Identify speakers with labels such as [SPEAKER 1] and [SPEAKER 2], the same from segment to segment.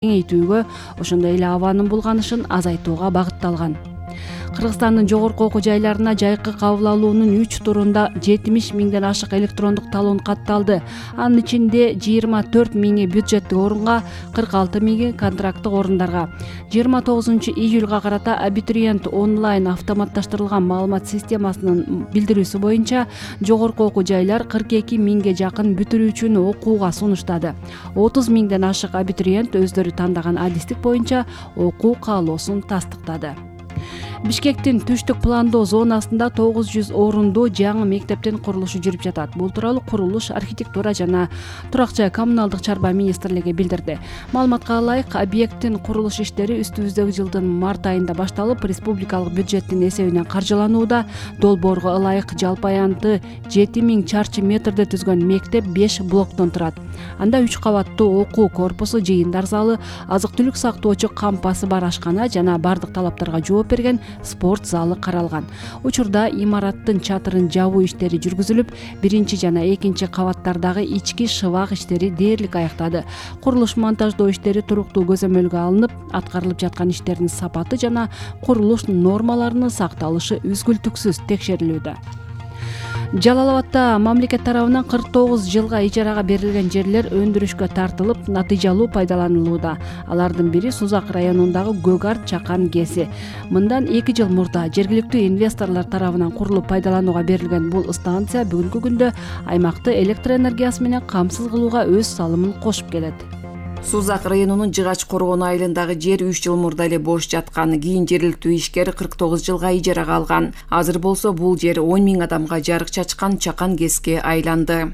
[SPEAKER 1] кеңейтүүгө, ошондой эле абанын булганышын азайтууга багытталган. Кыргызстандын жогорку окуу жайларына жайкы кабыл алуунун 3 турунда 70 миңден ашык электрондук талон катталды. Анын ичинде 24 миңи бюджеттик орунга, 46 миңи контракттык орундарга. 29 июлга карата абитуриент онлайн автоматташтырылган маалымат системасынын билдирүүсү боюнча жогорку окуу жайлар 42 миңге жакын бүтүрүүчүнү окууга сунуштады. 30 миңден ашык абитуриент өздөрү тандаган адистик боюнча окуу каалоосун тастыктады. Бишкектин түштүк пландоо зонасында 900 орунду жаңы мектептин курулушу жүрүп жатат. Бул тууралуу курулуш, архитектура жана турак жай коммуналдык чарба министрлиги билдирди. Маалыматка ылайык, объекттин курулуш иштери үстүбүздөгү жылдын март айында башталып, республикалык бюджеттин эсебинен каржыланууда. Долбоорго ылайык жалпы аянты 7000 чарчы метрди түзгөн мектеп 5 блоктон турат. Анда 3 кабаттуу окуу корпусу, жыйындар залы, азык-түлүк сактоочу кампасы бар ашкана жана бардык талаптарга жооп берген спорт залы каралган. Учурда имараттын чатырын жабуу иштери жүргүзүлүп, 1 жана 2 кабаттардагы ички шыбак иштери дээрлик аяктады. Курулуш монтаждоо иштери туруктуу көзөмөлгө алынып, аткарылып жаткан иштердин сапаты жана курулуш нормаларынын сакталышы үзгүлтүксүз текшерилүүдө. Жалал-Абадда мамлекет тарабынан 49 жылга ижарага берилген жерлер өндүрүшкө тартылып, натыйжалуу пайдаланылууда. Алардын бири Сузак районундагы Көк-Арт Чакан КЭСи. Мындан 2 жыл мурда жергиликтүү инвесторлор тарабынан курулуп пайдаланууга берилген бул станция бүгүнкү күндө аймакты электр энергиясы менен камсыз кылууга өз салымын кошуп келет.
[SPEAKER 2] Сузак районунун Жыгач Коргон айылындагы жер 3 жыл мурда эле бош жаткан. Кийин жергиликтүү ишкер 49 жылга ижарага алган. Азыр болсо бул жер 10 миң адамга жарык чачкан Чакан КЭСке айланды.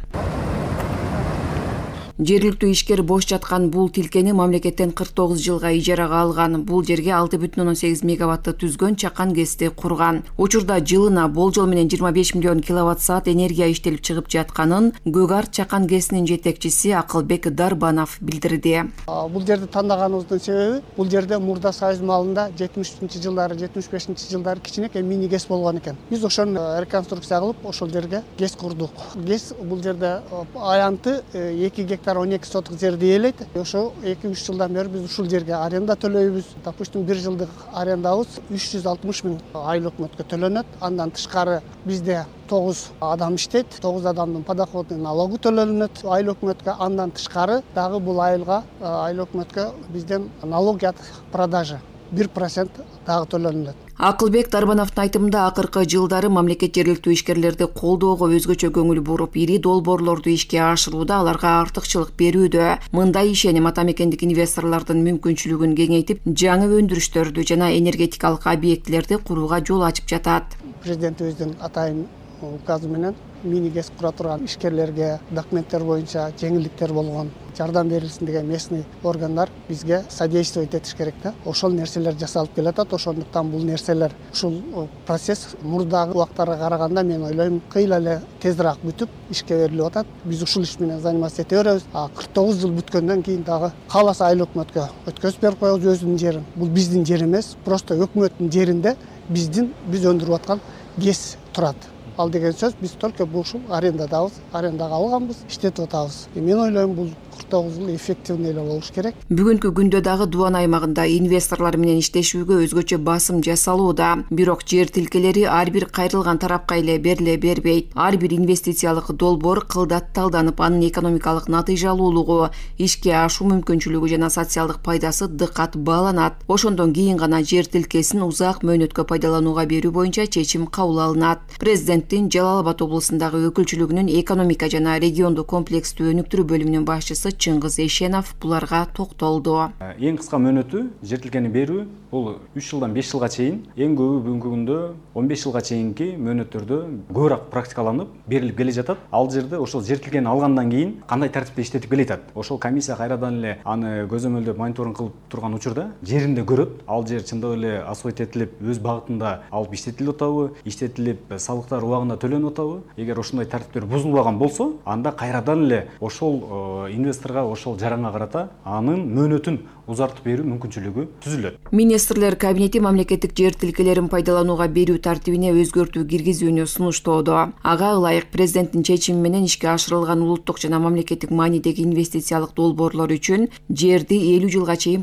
[SPEAKER 2] Жергиликтүү ишкер бош жаткан бул тилкени мамлекеттен 49 жылга ижарага алган. Бул жерге 6,8 мегаватты түзгөн Чакан КЭСти курган. Учурда жылына болжол менен 25 миллион киловатт-саат энергия иштелип чыгып жатканын Көк-Арт Чакан КЭСинин жетекчиси Акылбек Дарбанов билдирди.
[SPEAKER 3] Бул жерди тандаганыбыздын себеби, бул жерде мурда Союз маалында 70-жылдары, 75-жылдары кичинекей мини КЭС болгон экен. Биз ошону реконструкция кылып, ошол жерге КЭС курдук. КЭС бул жерде аянты 2 гектар 12 соток жерди ээлейт. Ошо 2-3 жылдан бери биз ушул жерге аренда төлөйбүз. Допустим, 1 жылдык арендабыз 360 миң айыл өкмөткө төлөнөт. Андан тышкары бизде 9 адам иштейт. 9 адамдын подоходный налогу төлөнөт айыл өкмөткө. Андан тышкары дагы бул айылга айыл өкмөткө бизден налог от продажи 1% дагы төлөнөт.
[SPEAKER 2] Акылбек Дарбановдун айтымында акыркы жылдары мамлекет жергиликтүү ишкерлерди колдоого өзгөчө көңүл буруп, ири долбоорлорду ишке ашырууда аларга артыкчылык берүүдө. Мындай ишеним ата мекендик инвесторлордун мүмкүнчүлүгүн кеңейтип, жаңы өндүрүштөрдү жана энергетикалык объектилерди курууга жол ачып жатат.
[SPEAKER 3] Президентибиздин атайын указы менен мини КЭС кура турган ишкерлерге документтер боюнча жеңилдиктер болгон, жардам берилсин деген местный органдар бизге содействовать этиш керек да. Ошол нерселер жасалып келатат. Ошондуктан бул нерселер, ушул процесс мурдагы убактарга караганда мен ойлойм кыйла эле тезирээк бүтүп ишке берилип атат. Биз ушул иш менен заниматься эте беребиз. 49 жыл бүткөндөн кийин дагы кааласа айыл өкмөткө өткөзүп берип коебуз өзүнүн жерин. Бул биздин жер эмес, просто өкмөттүн жеринде биз өндүрүп аткан КЭС турат. Ал деген сөз, биз только ушул арендадабыз, арендага алганбыз, иштетип атабыз. Мен ойлойм бул 49 жыл эффективный эле болуш керек.
[SPEAKER 2] Бүгүнкү күндө дагы Дубан аймагында инвесторлор менен иштешүүгө өзгөчө басым жасалууда. Бирок жер тилкелери ар бир кайрылган тарапка эле бериле бербейт. Ар бир инвестициялык долбоор кылдат талданып, анын экономикалык натыйжалуулугу, ишке ашуу мүмкүнчүлүгү жана социалдык пайдасы дыкат бааланат. Ошондон кийин гана жер тилкесин узак мөөнөткө пайдаланууга берүү боюнча чечим кабыл алынат. Президенттин Жалал-Абад облусундагы өкүлчүлүгүнүн экономика жана региондук комплекстүү өнүктүрүү бөлүмүнүн башчысы Чыңгыз Эшенов буларга токтолду.
[SPEAKER 4] Эң кыска мөөнөтү жер тилкени берүү бул 3 жылдан 5 жылга чейин, эң көбү бүгүнкү күндө 15 жылга чейинки мөөнөттөрдө көбүрөөк практикаланып берилип келе жатат. Ал жерде ошол жер тилкени алгандан кийин кандай тартипте иштетип келатат. Ошол комиссия кайрадан эле аны көзөмөлдөп мониторинг кылып турган учурда жеринде көрөт. Ал жер чындап эле асфальт этилип өз багытында алып иштетилип атабы, иштетилип салыктар убагында төлөнүп атабы. Эгер ошондой тартиптер бузулбаган болсо, анда кайрадан эле ошол инвесторго, ошол жаранга карата анын мөөнөтүн узартып берүү мүмкүнчүлүгү түзүлөт.
[SPEAKER 2] Министрлер кабинети мамлекеттик жер тилкелерин пайдаланууга берүү тартибине өзгөртүү киргизүүнү сунуштоодо. Ага ылайык президенттин чечими менен ишке ашырылган улуттук жана мамлекеттик маанидеги инвестициялык долбоорлор үчүн жерди 50 жылга чейин